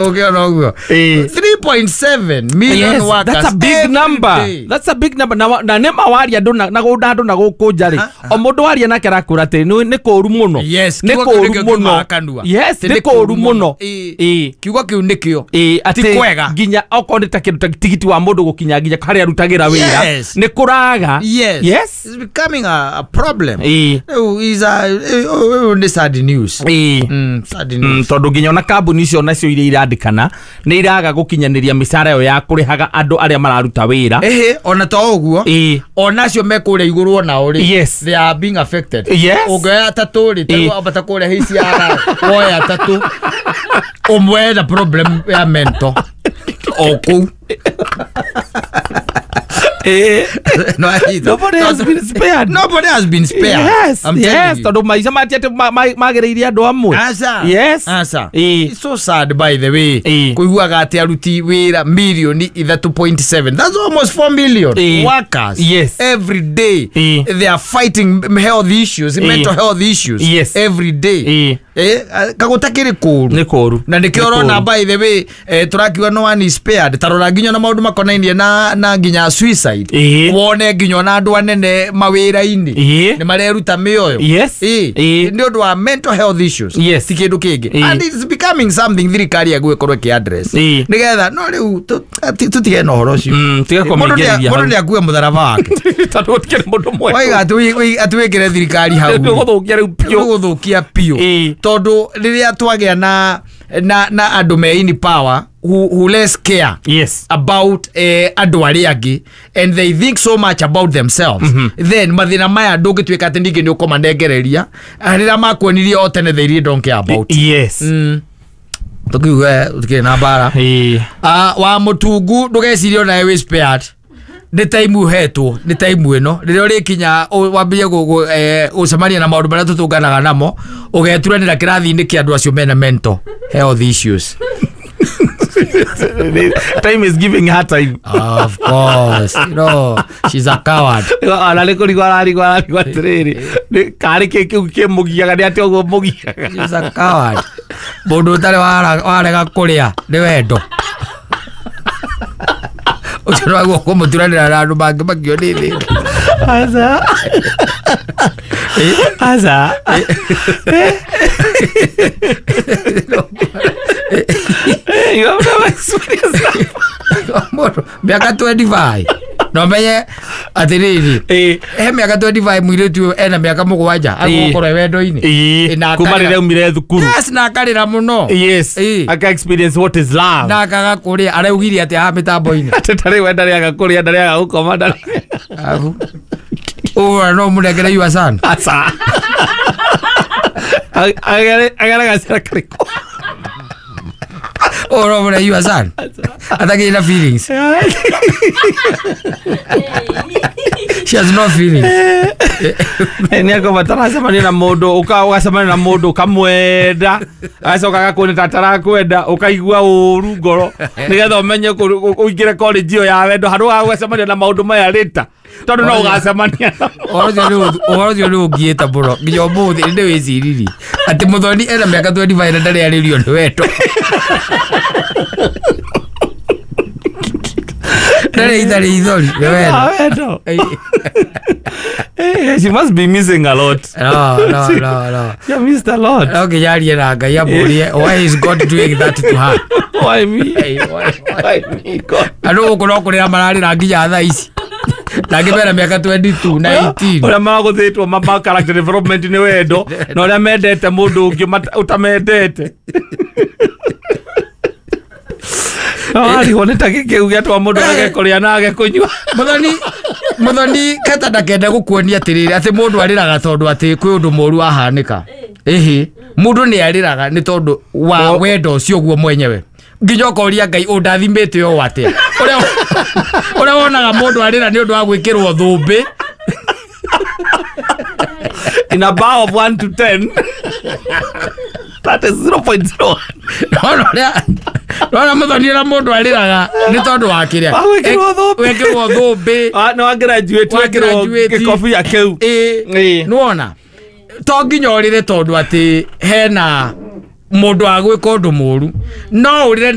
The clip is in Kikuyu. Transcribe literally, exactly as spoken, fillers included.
Ũkĩona ũguo Ĩĩ. three point seven million Yes, workers that's a big every number. day. That's a big number. Na wa- na nĩ ma waria andũ na na gũkũ andũ na gũkũ nja rĩ, o mũndũ waria nake arakũra atĩ nĩ nĩ kũũru mũno. Yes, nĩ kiugo kĩu kũũru nĩkĩo mũno. kiumaga kanua. Yes, Atĩ nĩ nĩ kũũru kũũru mũno. mũno. Ĩĩ. Ĩĩ. Kiugo kĩu nĩkĩo. Ĩĩ, atĩ Kwega. Nginya okorwo nĩ ta kĩndũ ta tigiti wa mũndũ gũkinya nginya harĩa arutagĩra wĩra Yes. nĩ kũraga. Yes. Yes. It's becoming a, a problem. Ĩĩ. Rĩu is a ũyũ nĩ sad news. Ĩĩ. Mm, sad Mm, news. Tondũ nginya ona kambuni icio nacio iria irandĩkana nĩ iraga gũkinyanĩria mĩcara ĩyo ya kũrĩhaga andũ arĩa mararuta wĩra. Ĩhĩ, ona to ũguo, Ĩĩ. onacio me kũrĩa igũrũ onao rĩ, Yes. they are being affected. Yes. Ũngĩoya atatũ rĩ, Ĩĩ. tarĩu ambata kũrĩa H R, woe atatũ, ũmwe ena problem ya mental o kũu. Ĩĩ. No, either. Nobody has been spared. Nobody has been spared. Yes, I'm telling yes, you. tondũ maica mati atĩ ma- ma- magĩrĩire andũ amwe. Aca. Yes. Aca. Ĩĩ. It's so sad, by the way. Ĩĩ. Kuiguaga atĩ aruti wĩra milioni ithatũ point seven. That's almost four million Ĩĩ. workers. Yes. Every day. Ĩĩ. They are fighting health issues, Ĩĩ. mental health issues. Yes. Every day. Ĩĩ. Eh, kagũtakĩrĩ kũũru. Nĩ kũũru. Na nĩkĩo Nĩ ũrona, kũũru. by the way, eh, tũrakiuga no one is spared. Tarora nginya na maũndũ makonainie na na nginya suicide. Ĩĩ. Wone nginya ona andũ anene mawĩra-inĩ Ĩĩ. nĩ mareruta mĩoyo. Yes. Ĩĩ. Ĩĩ. Nĩ ũndũ wa mental health issues. Yes. Ti kĩndũ kĩngĩ. Ĩĩ. And it's becoming something thirikari yagũgĩkorwo ĩkĩ address Ĩĩ. nĩgetha no rĩu tu- ti- tũtige na ũhoro ũcio. Mm, tiga Mũndũ nĩ- kũmĩingĩrĩria mũndũ hau. nĩ akue mũtharaba wake. Tondũ gũtikĩrĩ mũndũ mwega. Waiga atĩ wĩ- atĩ wĩkĩre thirikari hau. Nĩ ũgũthũkia rĩu biũ. Ũgũthũkia biũ. Ĩĩ. Tondũ rĩrĩa twagĩa na na na andũ me in power who, who less care Yes. about eh, andũ arĩa angĩ and they think so much about themselves mm -hmm. then mathĩna maya ndũngĩtuĩka atĩ ningĩ nĩ ũkũmanengereria rĩrĩa makuonirie o tene they really don't care about. Yes. mm. Tũkiuge tũkĩrĩ na mbara. Ĩĩ. Ah, wa mũtungu, ndũgecirie onawe wĩ spared. Nĩ time ũhetwo, nĩ time ĩno rĩrĩa ũrĩkinya ũ- wambĩrĩrie gũ- gũ- eh, gũcemania na maũndũ marĩa tũtũnganaga namo, ũgeturanĩra kĩrathi-inĩ kĩa andũ acio mena mental health issues. Time is giving her time. Of course, you know she's a coward. Ona nĩ kũrigwo ararigwo, ararigwo atĩrĩrĩ, nĩ- karĩ kĩ kĩu kĩmũgiaga, nĩ atĩ ũguo mũgiaga. She's a coward. Mũndũ ũtarĩ wara- warega kũrĩa nĩ wendo ũcio nĩwaguo kũmũturanĩra na andũ mangĩ makio nĩ thĩna. Aca, aca. You have never experienced that. Mũndũ mĩaka mĩrongo ĩĩrĩ na ĩtano no menye atĩrĩrĩ, Ĩĩ. he mĩaka mĩrongo ĩĩrĩ na ĩtano mũirĩtu ũyũ ena mĩaka mũgwanja agũkorwo e wendo-inĩ. Ĩĩ. Na Kuma akarĩra. rĩrĩa aumire thukuru. Yes, na akarĩra mũno. Yes. Ĩĩ. Aka experience what is love. Na akaga kũrĩa, araugire atĩ haha mĩtambo-inĩ. Atĩ tarĩu we ndarĩaga kũrĩa, ndarĩaga gũkoma, ndarĩ Abu ũũ no mũnengere your son. Aca, agere gacĩra karĩkũ? Ũũ no mũne your son atakĩrĩ na feelings. She has no feelings. Nĩ akorwo mataracemania na mũndũ, ũka- ũgacemania na mũndũ ũkamwenda, agacoka agakuona ta atarakwenda, ũkaigua ũru ngoro nĩgetha ũmenye kũ- ũingĩre college ĩyo ya wendo handũ ha gũgacemania na maũndũ maya rĩta, tondũ no ũgacemania namo. Ũhoro ũcio nĩ- ũhoro ũcio nĩ ũngiĩte mũno nginya ũmũthĩ nĩ wĩciririe atĩ mũthoni ena mĩaka mĩrongo ĩĩrĩ na ĩtano na ndarĩ arĩrio nĩ wendo, ndarĩ itharĩ ithori nĩ wendo. Ah, wendo. Eh, she must be missing a lot. No, no, no, no. She missed a lot. No nginya arie na Ngai amũrie, why is God doing that to her? Why me? Why me, God? Andũ gũkũ no kũrĩra mararĩra nginya thaa ici na angĩ mena mĩaka mĩrongo ĩĩrĩ na igĩrĩ kũmĩrongo ĩĩrĩ. Ũrĩa magũthĩtwo ma ma character development nĩ wendo na ũrĩa mendete mũndũ ũngĩ mata- ũtamendete. No arigwo nĩ ta kĩu gĩatũma mũndũ age kũrĩa na age kũnyua. Mũthoni, mũthoni keta ndakende gũkuonia atĩrĩrĩ, atĩ mũndũ arĩraga tondũ atĩ kwĩ ũndũ mũru wahanĩka. Ĩhĩ, mũndũ nĩ arĩraga nĩ tondũ wa wendo ũcio guo mwenyewe, nginya ũkoria Ngai ũndathimĩte ũũ atĩa, ũrĩa ũrĩa wonaga mũndũ arĩra nĩ ũndũ wa gwĩkĩrwo thũmbĩ. In a bar of one to ten, that is zero point zero one. Nona ũrĩa nona mũthoni ũrĩa mũndũ arĩraga nĩ tondũ wa kĩrĩa. Wa gwĩkĩrwo thũmbĩ. Wekĩrwo thũmbĩ. Ah, no graduate Wa wekĩrwo graduate. gĩkobia kĩu. Ĩĩ. Ĩĩ. Nĩwona to nginya ũrĩre tondũ atĩ hena Mũndũ wa gwĩka ũndũ mũru no ũrĩre.